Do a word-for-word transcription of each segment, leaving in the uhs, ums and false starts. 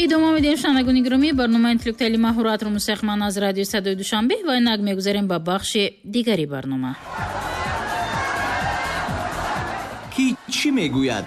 Идома медиҳем, шунавандагони гиромӣ, барномаи интеллектуали маҳоратро мустақиман аз радиои Садои Душанбе ва инак мегузарем ба бахши дигари барнома. Ки чӣ мегӯяд?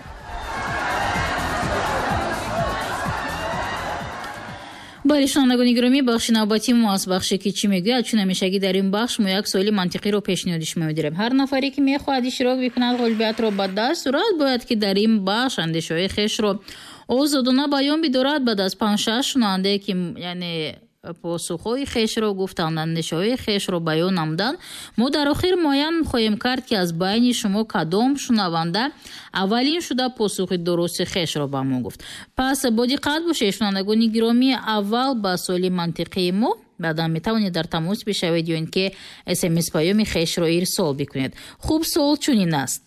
Бале, шунавандагони гиромӣ, бахши навбатии мо аз бахше ки чӣ мегӯяд, чун ҳамешагӣ дар ин бахш мо як суоли мантиқиро пешниҳоди шумо медорем. Ҳар нафаре ки мехоҳад иштирок бикунад, ғолибиятро ба даст орад, бояд ки дар ин бахш андешаҳои хешро озодона баён бидорад. Баъд аз панҷ-шаш шунавандае ки яъне посухҳои хешро гуфтанд, андешаҳои хешро баён намуданд, мо дар охир муайян хоҳем кард ки аз байни шумо кадом шунаванда аввалин шуда посухи дурусти хешро ба мо гуфт. Пас бо диққат бошед, шунавандагони гиромӣ, аввал ба суоли мантиқии мо, баъдан метавонед дар тамос бишавед ё ин ки смс паёми хешро ирсол бикунед. Хуб, суол чунин аст: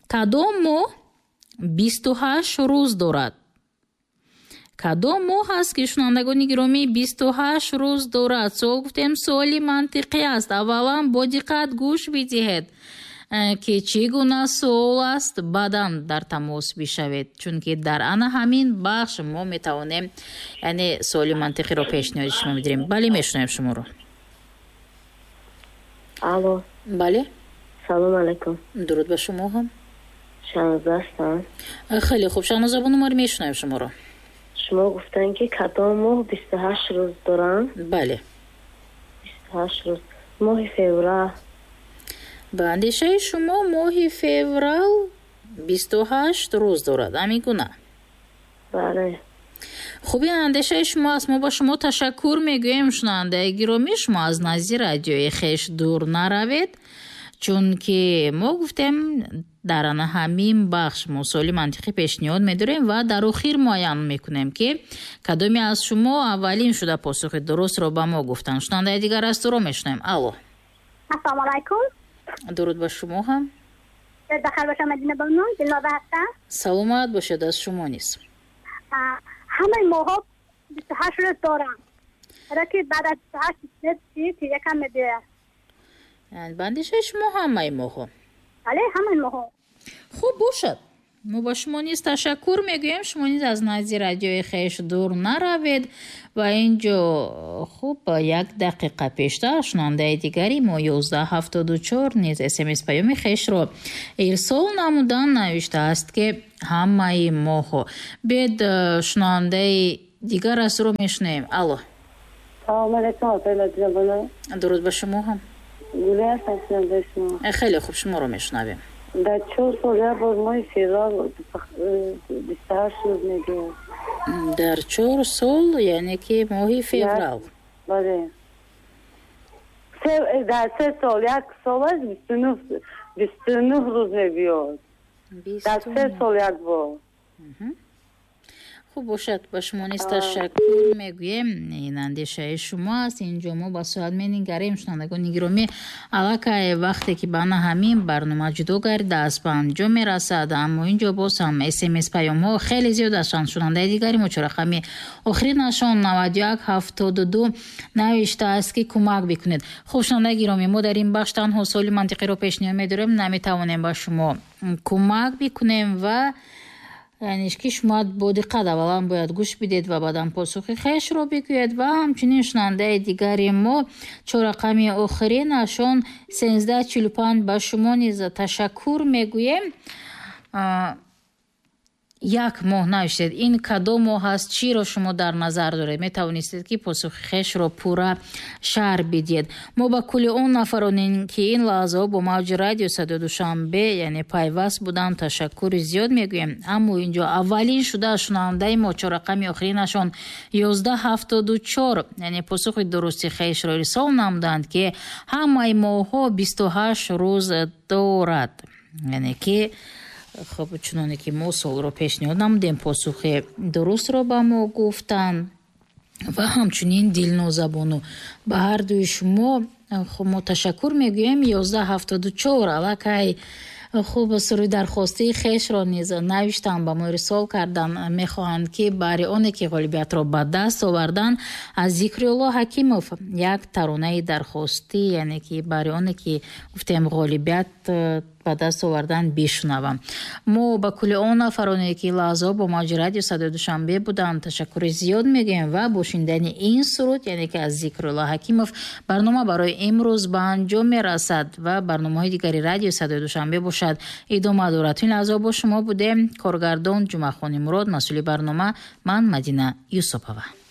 кадом моҳ бисту ҳашт рӯз дорад? Кадом моҳ аст ки, шунавандагони гиромӣ, бисту ҳашт рӯз дорад? Суол гуфтем, суоли мантиқӣ аст. Аввалан бо диққат гӯш бидиҳед, ки чӣ гуна суол аст, баъдан дар тамос бишавед, чунки дар ана ҳамин бахш мо метавонем яъне суоли мантиқиро пешниҳоди шумо медиҳем. Бале, мешунавем шуморо. Алло. Бале. Салом алайкум. Дуруд ба шумо ҳам. Шаҳноза ҳастам. Хеле хуб, Шаҳноза бону, мо мешунавем шуморо. Шумо гуфтанд ки кадом моҳ бисту ҳашт рӯз доранд? Бале. Бисту ҳашт рӯз. Моҳи феврал. Ба андешаи шумо моҳи феврал бисту ҳашт рӯз дорад, ҳамин гуна? Бале. Хуб, ин андешаи шумо аст. Мо ба шумо ташаккур мегӯем, шунавандаи гиромӣ. Шумо аз назди радиои хеш дур наравед, чунки мо гуфтем дар ана ҳамин бахш мо суоли мантиқӣ пешниҳод медорем ва дар охир муайян мекунем ки кадоме аз шумо аввалин шуда посухи дурустро ба мо гуфтанд. Шунавандаи дигар аз туро мешунавем. Алло. Ассалому алайкум. Дуруд ба шумо ҳам. Бахайр бошам, Мадина бону, Дилноза ҳастам. Саломат бошед, аз шумо низ. Ҳамаи моҳҳо бисту ҳашт рӯз доранд, ки баъд аз бисту ҳашт си якам мебиёяд. Ба андешаи шумо ҳамаи моҳҳо? Бале, ҳамаи моҳҳо. Хуб бошад, мо ба шумо низ ташаккур мегӯем. Шумо низ аз назди радиои хеш дур наравед. Ва инҷо хуб як дақиқа пештар шунавандаи дигари мо ёздаҳ ҳафтоду чор низ смс паёми хешро ирсол намудан, навиштааст ки ҳамаи моҳҳо. Бед, шунавандаи дигар аз ро мешунавем. Алло. Салом алайкум, апаи Мадина бону. Дуруд ба шумо ҳам. Гуле ҳастам, шунавандаи шумо. Хеле хуб, шуморо мешунавем. Дар чор сол як бор моҳи феврал бисту ҳашт рӯз мебиёяд. Дар чор сол, яъне ки моҳи феврал? Бале. Дар се сол, як солаш бисту нӯҳ рӯз мебиёяд. Дар се сол як бор. Хуб бошад, ба шумо низ ташаккур мегӯем. Ин андешаи шумо аст. Инҷо мо ба соат менигарем, шунавандагони гиромӣ. Аллакай вақте ки ба ана ҳамин барнома ҷудо гардида аз ба анҷом мерасад, аммо инҷо боз ҳам смс паёмҳо хеле зиёд ҳастанд. Шунавандаи дигари мо чорақами охиринашон наваду як ҳафтоду ду навиштааст ки кӯмак бикунед. Хуб, шунавандаи гиромӣ, мо дар ин бахш танҳо суоли мантиқиро пешниҳод медорем, наметавонем ба шумо кӯмак бикунем ва яъне ки шумо бо диққат аввалан бояд гӯш бидед ва баъдан посухи хешро бигӯед. Ва ҳамчунин шунавандаи дигари мо чорақами охиринашон сенздаҳ чилу панҷ ба шумо низ ташаккур мегӯем. Як моҳ навиштед. Ин кадом моҳ аст? Чиро шумо дар назар доред? Метавонистед ки посухи хешро пурра шарҳ бидиҳед. Мо ба кулли он нафароне ки ин лаҳзаҳо бо мавҷи радио Садои Душанбе яъне пайваст буданд, ташаккури зиёд мегӯем. Аммо инҷо аввалин шуда шунавандаи мо чорақами охиринашон ёздаҳ ҳафтоду чор яъне посухи дурусти хешро ирсол намуданд ки ҳамаи моҳҳо бисту ҳашт рӯз дорад. Яъне ки хуб, чуноне ки мо суолро пешниҳод намудем, посухи дурустро ба мо гуфтанд. Ва ҳамчунин Дилноза бону, ба ҳар дуи шумо хуб мо ташаккур мегӯем. Ёздаҳ ҳафтоду чор аллакай хуб суруди дархостии хешро низ навиштанд, ба мо ирсол карданд. Мехоҳанд ки барои оне ки ғолибиятро ба даст оварданд аз Зикрулло Ҳакимов як таронаи дархостӣ, яъне ки барои оне ки гуфтем ғолибият ба даст овардан бишунавам. Мо ба кулли он нафароне, ки лаҳзаҳо бо мавҷи радио Садои Душанбе буданд, ташаккури зиёд мегӯем ва бо шунидани ин суруд, яъне ки аз Зикрулло Ҳакимов, барнома барои имрӯз ба анҷом мерасад ва барномаҳои дигари радио Садои Душанбе бошад идома дорад. Ин лаҳзаҳо бо шумо будем коргардон Ҷумъахони Мурод, масъули барнома ман Мадина Юсупова.